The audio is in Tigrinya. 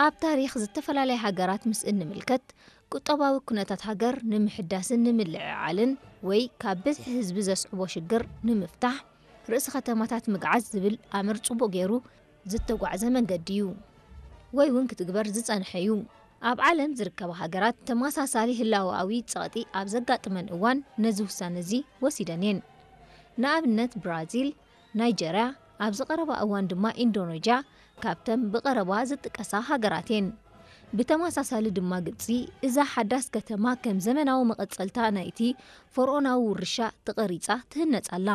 ኣብ ታሪኽ ዝተፈላለያ ሃገራት ምስ እንምልከት፣ ቁጠባዊ ኩነታት ሃገር ንምሕዳስን ንምልዕዓልን ወይ ካብ ብዝሒ ህዝቢ ዘስዕቦ ሽግር ንምፍታሕ፣ ርእሲ ከተማታት ምግዓዝ ዝብል ኣምር ጽቡቕ ገይሩ ዝተጓዕዘ መንገዲ እዩ፣ ወይ እውን ክትግበር ዝጸንሐ እዩ። ኣብ ዓለም ዝርከባ ሃገራት ተመሳሳሊ ህላወኣዊ ጸቕጢ ኣብ ዘጋጥመን እዋን ነዚ ውሳነ እዚ ወሲደን እየን። ንኣብነት ብራዚል፣ ናይጀርያ፣ ኣብዚ ቀረባ እዋን ድማ ኢንዶኔዥያ ካብተን ብቐረባ ዝጥቀሳ ሃገራት እየን። ብተመሳሳሊ ድማ ግብጺ እዛ ሓዳስ ከተማ ከም ዘመናዊ መቐጸልታ ናይቲ ፈርኦናዊ ውርሻ ተቐሪጻ ትህነጽ ኣላ።